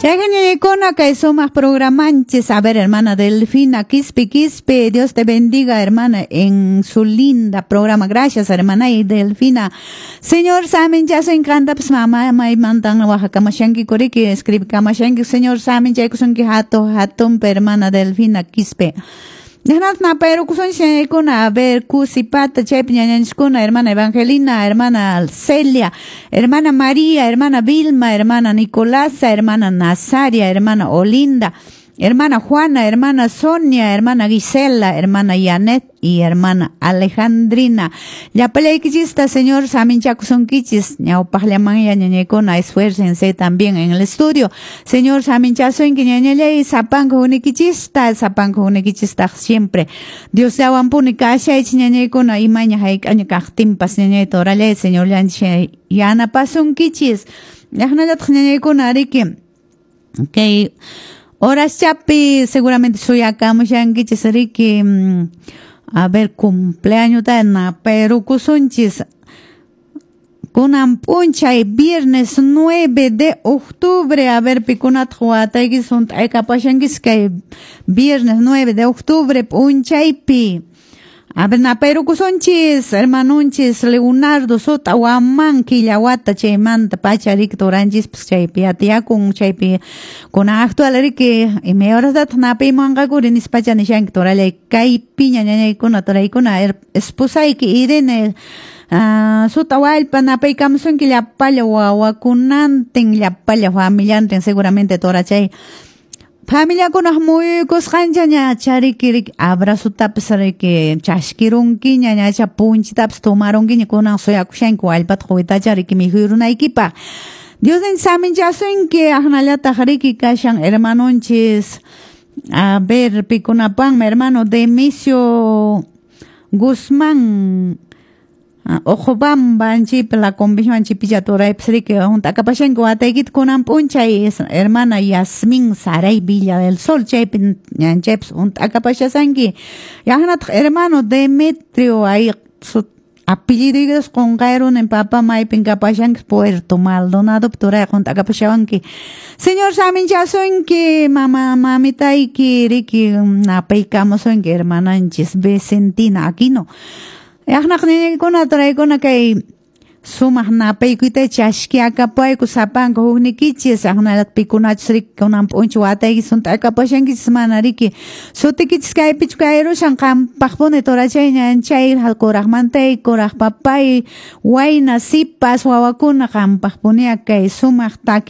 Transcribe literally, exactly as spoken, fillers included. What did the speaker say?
Chayqa kay sumaq programanchis. A ver, hermana Delfina Quispe Quispe, Dios te bendiga, hermana, en su linda programa. Gracias, hermana y Delfina. Señor Samin, ya se encanta, pues mamá, maymantan waqakamushanki kuriki, escribikamushanki, Señor Samin, chaykusunki hato, hatun, hermana Delfina Quispe. Pero a ver, Cusipata, chaypi ñañanchiskuna, hermana Evangelina, hermana Celia, hermana María, hermana Vilma, hermana Nicolasa, hermana Nazaria, hermana Olinda, hermana Juana, hermana Sonia, hermana Gisela, hermana Yanet y hermana Alejandrina. Llapallaykichista, Señor saminchakusunkichis, ñawpaqllaman ñañaykuna, esfuércense también en el estudio. Señor saminchasunki ñañallay, sapanka hukniykichista, sapanka hukniykichista siempre. Diosllawanpuni kashaychis ñañaykuna, imaña hayk'aña kaqtinpas ñañay torallay, Señor llanchis yanapasunkichis. Llaqnallataq ñañaykuna riki, kay horaschapi seguramente suyakamushankichis riki, a ver, cumpleaños pero kusunchis kunan p'unchay viernes nueve de octubre. A ver, pikunataq wataykis hunt'aykapashankis kay viernes nueve de octubre p'unchaypi. A ver, napayrukusunchis, hermanunchis Leonardo Sota Huamán killawata chaymanta pacha riki turanchispas chaypi atiyakun chaypi kunan actual riki imay horastataq napaymanqakuri nispacha nishanki turallay kaypiña ñañaykuna turaykuna esposayki Irene uh, Sota Wallpa napaykamusunki llapalla wawakunantin llapalla familiantin seguramente turachay familiakunaq muyuykusqancha ñacha riki riki abrazotapas riki chaskirunkiña ñacha punchitapas tomarunkiña kunan suyakushanki wallpata quwitacha riki mikhurunaykipaq. Dios ninchis saminchasunki aqnallataq riki kashan hermanonchis, a ver, pikunapanmi hermano Demisio Guzmán Ojobamba anchaypi la convención anchaypicha turaypas riki hunt'akapashanki wataykita kunan p'unchay hermana Yasmin Saray Villa del Sol chaypi ñanchaypas hunt'akapashasanki yaqnataq hermano Demetrio ay apelliduykitas qunqayruni papa maypin kapashanki Puerto Maldonado turay hunt'akapashawanki. Señor saminchasunki mama mamitayki riki napaykamusunki hermananchis Vicentina Aquino. Yaqnaq ñañaykuna turaykuna kay sumaq napaykuyta chaskiakapayku sapanka hukniykichis aqnallataq pikunachus riki kunan p'unchay wataykis hunt'akapashankichis mana riki sutikichis kaypichu kayrushan qampaqpuni turachay ñanchay kuraqmantay kuraq papay wayna sipas wawakuna qampaqpuniya kay sumaq taki.